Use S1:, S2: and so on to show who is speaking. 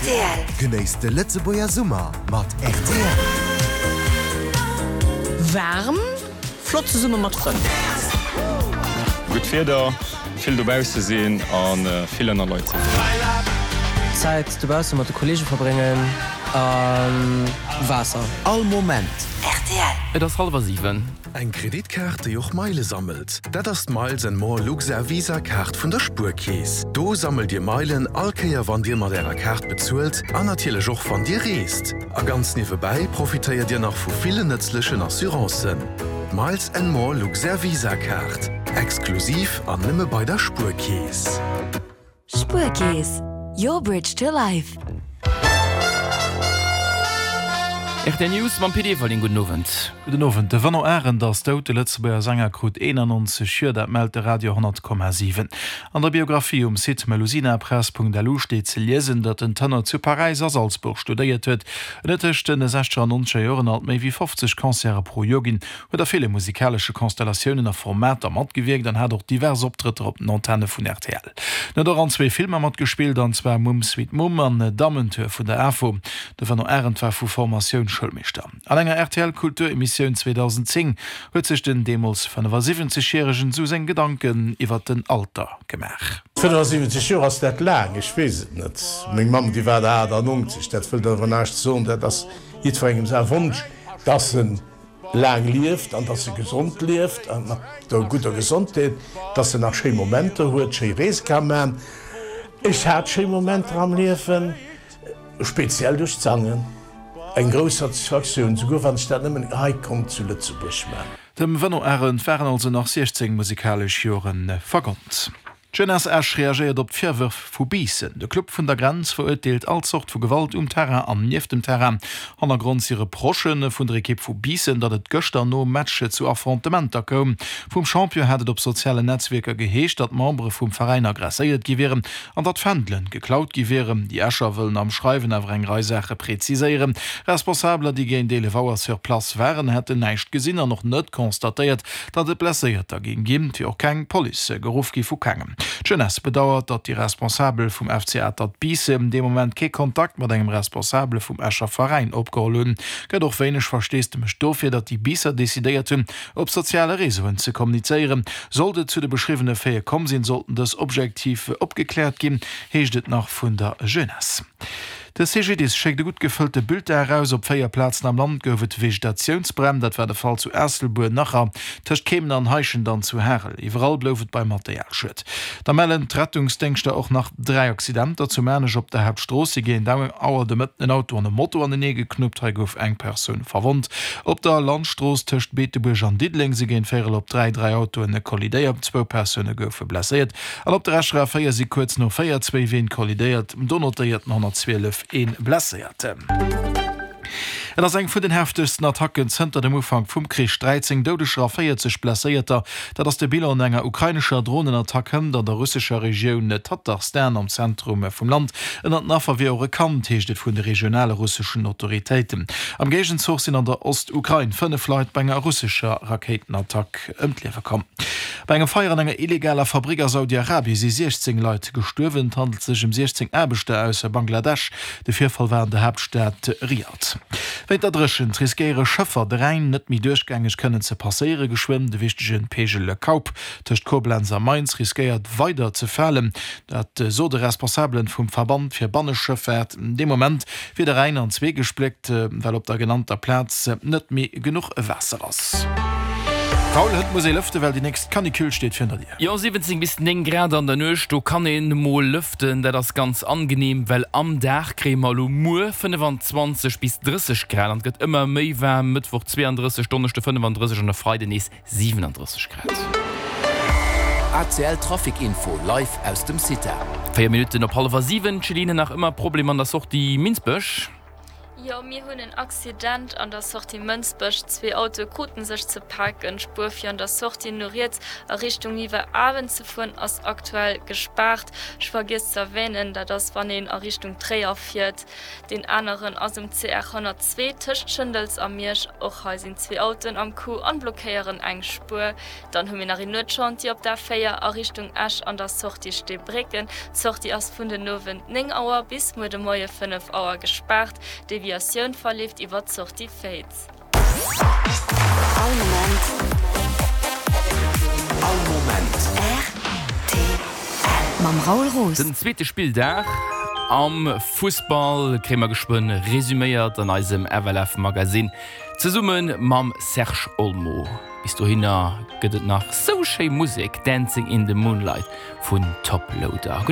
S1: Rtl. Genéisst de Lëtzebuerger Summer mat rtl.
S2: Waarm, flott zesumme mat Frënn.
S3: Gutt Wieder, vill dobausse sinn a vill ënner Leit sinn.
S4: Zäit dobausse mat de Kollege verbréngen a Waasser.
S1: All Moment.
S2: Rtl.
S5: Et ass hallwer 7.
S6: Eng Kreditkaart, déi och Meile sammelt, dat ass d'Miles and More Luxair Visa Kaart vun der Spuerkeess. Do sammelt Dir Meilen all Kéier wann Dir mat Ärer Kaart bezuelt an natierlech och wann Dir reest. A ganz niewebäi profitéiert Dir nach vu villen nëtzlechen Assurancen. D'Miles and More Luxair Visa Kaart, exklusiv an nëmme bei der Spuerkeess.
S7: Spuerkeess, your bridge to life.
S5: Rtl News mam Pit Everling. Gudden Owend.
S8: Gudden Owend. De Vano Arendt ass dout. De Lëtzebuerger Sänger krut 91 Joer, dat mellt de Radio 100,7. An der Biographie um Site melusinapress.lu steet ze liesen, datt den Tenor zu Paräis a Salzburg studéiert huet. En huet tëscht den sechzeger an nonzeger Joren alt méi wéi 50 Concerte pro Joer ginn, huet a ville musikalesche Konstellatiounen a Formater matgewierkt an hat och divers Optrëtter op den Antenne vun rtl. En huet och an zwee Filmer matgespillt, an zwar Mumm Sweet Mumm an Dammentour vun der AFO. De Vano Arendt war vu Formatioun Schoulmeeschter. An enger RTL-Kulturemissioun 2010 huet sech den deemools 75 Järegen esou seng Gedanken iwwer den Alter gemaach.
S9: 75 Joer, ass dat laang? Ech weess et net. Meng Mamm, déi war der 98. Dat wëllt awer näischt soen. Dat ass jiddwerengem säi Wonsch, dass en laang lieft an dass e gesond lieft a mat der gudder Gesondheet, dass en nach schéi Momenter huet, schéi Reese ka man. Ech hat schéi Momenter am Liewen, speziell duerch d'Sangen, eng grouss Satisfaktioun, souguer wann ech dat nëmmen hei konnt zu Lëtzebuerg man.
S8: Dem Veno Arendt waren also nach 16 musikalesch Jore vergonnt. D'Jeunesse Esch reagéiert op d'Virwërf vu Biissen. De Club vun der Grenz verurteelt all Zort vu Gewalt um Terrain an nieft dem Terrain. Hannergrond si Reprochë vun der Ekipp vu Biissen, datt et gëschter nom Match zu Affrontementer koum. Vum Champion hat et op sozialen Netzwierker geheescht, datt Membere vum Veräin aggresséiert gi wieren an datt Fändelen geklaut gi wieren. Déi Escher wëllen am Schreiwen awer eng Rei Saache preziséieren. Responsabeler, déi géint 11 Auer sur place waren, hätten näischt gesinn an och net constatéiert, Datt et Blesséierter géing ginn, wier och keng Police geruff gi vu kengem. D'Jeunesse bedauert, datt déi Responsabel vum FC Atert Biissen dee Moment kee Kontakt mat engem Responsabele vum Escher Veräin opgeholl hunn. Gëtt och wéineg Versteesdemech dofir, datt déi Biisser decidéiert hunn, op soziale Réseauen ze kommunizéieren. Sollt et zu de beschriwwene Faite komm sinn, sollten dës objektiv opgekläert ginn, heescht et nach vun der Jeunesse. De CGDIS schéckt e gutt gefëllte Bulletin eraus. Op 4 Plazen am Land gouf et Vegetatiounsbränn. Dat war de Fall zu Aasselbuer, Nacher, tëscht Keemen an Heischent an zu Harel. Iwwerall blouf et beim Materialschued. Da mellen d'Rettungsdéngschter och nach 3 Accidenter. Zu Maarnech op der Haaptstrooss si géint Auer de Mëtten en Auto an e Moto anenee geknuppt. Hei gouf eng Persoun verwonnt. Op der Landstrooss tëscht Beetebuerg an Diddeleng si géint véierel op 3 dräi Autoen kollidéiert. Zwou Persoune goufe blesséiert. An op der Escher A4 si kuerz no 4 zwéi Ween kollidéiert, do notéiert den 112 ee Blesséierten. Et ass eng vun den heftegsten Attacken zënter dem Ufank vum Krich, 13 Doudeger a 40 Blesséierter, dat ass de Bilan no enger ukrainescher Dronenattack hënt an der russescher Regioun Tatarstan am Zentrum vum Land. Ënnert den Affer wier och e Kand, heescht et vun de regionale russeschen Autoritéiten. Am Géigenzuch sinn an der Ostukrain 5 Leit bei enger russescher Rakéitenattack ëm d'Liewe komm. Bei engem Feier an enger illegaler Fabrick a Saudi-Arabie si 16 Leit gestuerwen. Et handelt sech ëm 16 Aarbechter aus Bangladesch. De Virfall war an der Haaptstad Riad. Wéint der Dréchent riskéiere Schëffer, de Rhäin net méi duerchgängeg kënnen ze passéiere. Geschwënn de wichtege Peegel Kaup tëscht Koblenz a Mainz riskéiert weider ze falen. Dat sot e Responsabelen vum Verband fir Banneschëffaart. Dee Moment wier de Rhäin an zwee gespléckt, well op der genannter Plaz net méi genuch Waasser ass. Paul, hënt muss ee lëften, well déi nächst Canicule steet virun der Dier.
S5: Jo, 17 bis 9 Grad an der Nuecht, do kann een mol lëften. Dat ass ganz angenehm, well am Dag kréie mer elo muer 25 bis 30 Grad an et gëtt ëmmer méi waarm, Mëttwoch 32, Donneschde 35 an e Freiden nees 37 Grad.
S1: ACL Trafic Info live aus dem CITA.
S5: 4 Minutten op hallwer 7, Céline, nach ëmmer Problem an der Sortie Minsbech?
S10: Jo, mir hunn en Accident an der Sortie Mënsbech. Zwee Autoe kruten sech ze paken. D'Spuer fir an der Sortie no riets a Richtung Niwwerawen ze fueren ass aktuell gespaart. Ech vergiess ze erwänen, dat ass wann een a Richtung Tréier fiert. Deen aneren ass um CR 102 tëscht Schëndels a Miersch. Och hei sinn zwee Autoen am Coup an blockéieren eng Spuer. Dann hu mir nach een Nuetschantier op der A4 a Richtung Esch an der Sortie Steebrécken. D'Sortie ass vun den Owend 9 Auer bis muer de Moie 5 Auer gespaart. D'Deviatioun verleeft iwwer d'Sortie Féiz.
S7: All Moment.
S1: All Moment.
S7: Rtl. Mam Raoul Roos.
S5: Den zweete Spilldag am Fussball kréie mer geschwënn resuméiert an eisem FLF Magazine zesumme mam Serge Olmo. Bis dohinner gëtt et nach sou schéi Musek, Dancing in the Moonlight vun Toploader.